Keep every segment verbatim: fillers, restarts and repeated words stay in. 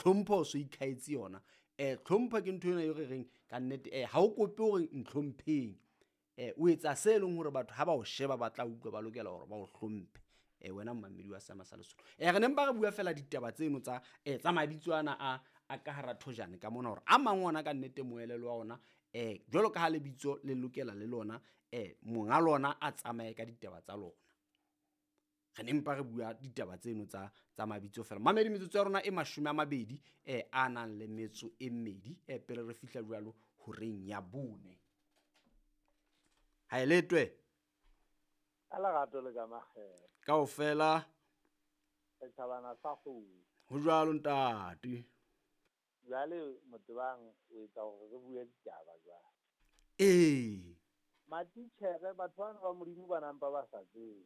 tlhompho o so ikhaetse yona. Eh tlhompho ke ntho ena e re reng ka nnete eh ha o kope hore ntlhompheng. Eh o etsa se leng hore batho ha ba o sheba ba tla utlwa ba lokela hore ba o hlomphe. Eh wena mmamedi wa Seema sa Lesotho. Eh re ne mpa re bua fela ditaba tseno tsa eh tsa mabitso ana a a ka hara thojane ka mona hore a mang ona ka nnete moelelo wa ona eh jwalo ka ha lebitso le lokela le lona eh monga lona a tsamaye ka ditaba tsa lona. Re ne mpa re bua ditaba tseno tsa tsa mabitso fela. Mamedi metsotso ya rona e mashome a mabedi eh a nang le metso e mmedi eh pele re fihla jwalo horeng ya bone. Ha e letwe. Ka lerato le ka makgethe. Kaofela. Setjhabana sa kgomo. Ho jwalo ntate. Jwale Motebang o etsa hore re bue ditaba jwale. Ee. Matitjhere batho bana ba Modimo ba nampa ba sa tsebe.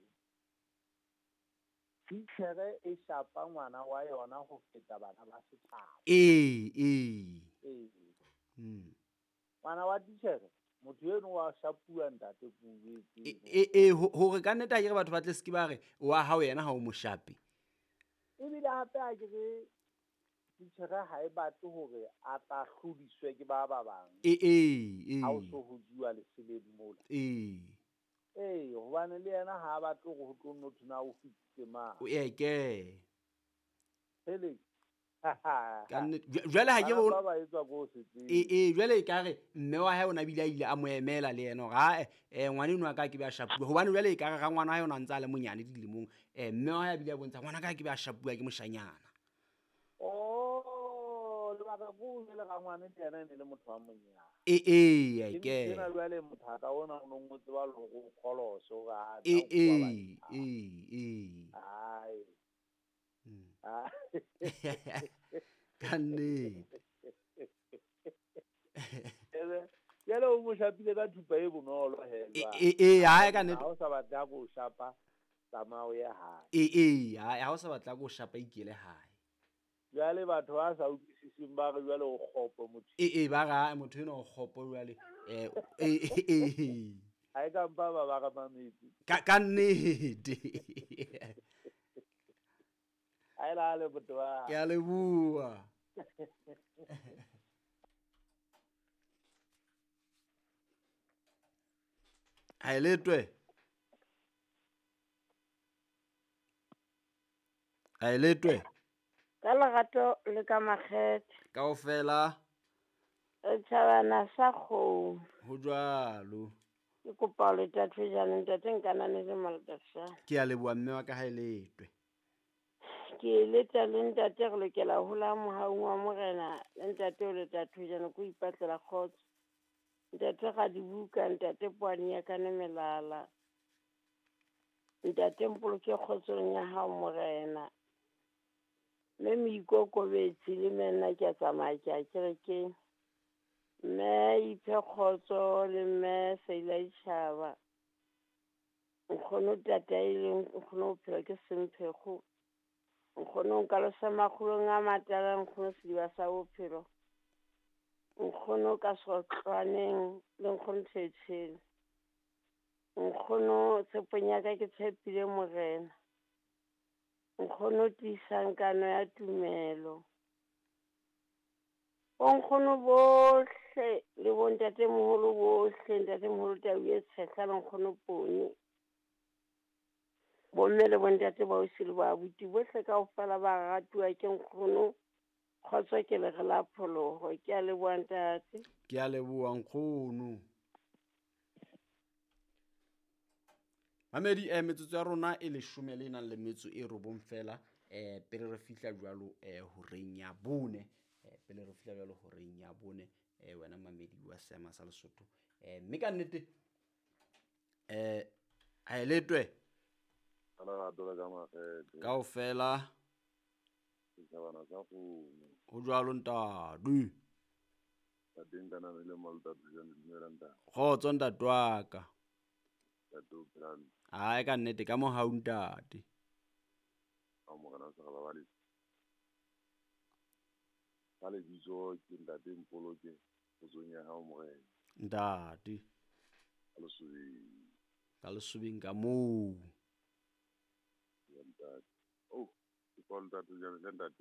Titjhere e shapa ngwana wa yona ho feta bana ba setjhaba. Ee, ee. Ee. Mm. Ngwana wa titjhere motho eno wa shapuwa ntate Puwe. E e hore ka nnete ha ke re batho ba tle se ke ba re wa hao yena ha o mo shape. Ebile hape ha ke re titjhere ha e batle hore a tla hlodiswe ke ba ba bang. E e e. Ha o so ho juwa leseleng mola. E. Ee, hobane le yena ha a batle hore ho tlo nno thwe na o fitse mang. O eke. Hele. Ka nnete jwale ha ke re ba ba etswa ko se tsebe. E e jwale e ka re mme wa hae o na bile a ile a mo emela le yena hore ha eh ngwana eno a ka ke be a shapuwa hobane jwale e ka re rangwana wa hae o na ntse a le monyane dilemong eh mme wa hae a bile a bontsha ngwana ka ke be a shapuwa ke moshanyana. Oh lebaka ko le rangwane le yena e ne le motho wa monyane. E e ke. Ke na jwale motho a ka ona o no tseba le hore o kgolose hore a E e e e. Ai. Ka nnete. Jwale o mo shapile ka thupa e bonolo he jwale. E e ha ka nnete. Ha o sa batla go shapa tsamaya o ye hae. E e ha o sa batla go shapa ikele hae. Jwale batho ba sa utlwisiseng ba re jwale o kgopo motho. E e ba ra motho eno o kgopo jwale eh e e. Ha e ka mpa ba ba re mametse. Ka ka nnete. Ha e lale motho wa. Ke a leboha. Ha e letwe. Ha e letwe. Ka lerato le ka makgethe. Kaofela. Setjhabana sa kgomo. Ho jwalo. Ke kopa le thathejane ntate nkanane le Maltasha. Ke a leboha mme wa ka ha e letwe. Ke leta le ntate re lokela ho la mohaung wa morena le ntate o le thathejane ko ipatlela kgotso. Ntate ga dibuka ntate poane ya ka melala. Ntate mpoloke kgotsong ya hao morena. Mme moikokobetsi le nna ke a tsamaya ke a kerekeng. Mme iphe kgotso le mme Seila Ditjhaba. Nkgono tataileng nkgono bophelo ke semphego. Nkgono nka losa makgolong a matala nkgono sediba sa bophelo. Nkgono ka sotlwaneng le nkgono Thetshele. Nkgono tshepong ya ka ke tshepile morena. Nkgono tiisang kano ya tumelo. Bonkgono bohle le bontatemoholo bohle, ntatemoholo Tau e Tshehla le nkgono Pone. Bomme le bontate ba ausi le ba abuti bohle kaofela ba ratuwa ke nkgono. Kgotso ke lere la pholoho. Ke a leboha ntate. Ke a leboha nkgono. Mamedi eh metsotso ya rona e leshome le nang le metso e robong fela eh pele re fihla jwalo eh horeng ya bone eh pele re fihla jwalo horeng ya bone eh wena mamedi wa Seema sa Lesotho eh mme ka nnete eh ha e letwe kaofela ho jwalo ntate. Kgotso ntate wa ka. Ai ka nnete ka mohau ntate. Ka lebitso ke ntate Mpoloke kgotsong ya hao morena. Ntate. Ka lesobeng. Ka lesobeng ka moo. Ya ntate. Oh, ke kwa ntate jwale ntate.